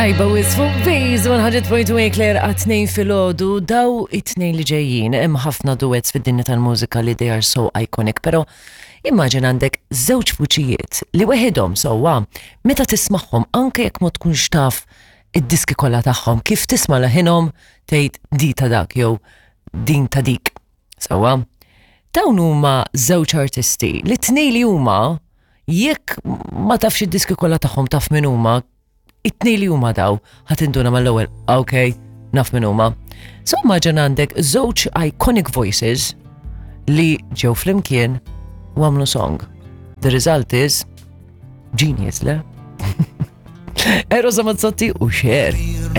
Tajba wis fuq Base 100.1 Claire għat-tnejn filgħodu daw it-tnejn li ġejjin hemm ħafna duets fid-dinja tal-mużika li they are so iconic, però immaġin għandek żewġ vuċijiet li weħidhom sewwa meta tismagħhom anke jekk ma tkunx taf id-diski kollha tagħhom kif tisma' leħinhom tgħid di ta' dak jew din ta' dik. Sewwa. Dawn huma żewġ artisti li t-tnejn li huma jekk ma tafx id-diski kollha tagħhom taf min huma it-tnejn li huma daw ħa tinduna mal-ewwel, ok, naf min huma. So immaġin għandek żewġ iconic voices li ġew flimkien u għamlu song. The result is genius, le? Eros Ramazzotti u Cher.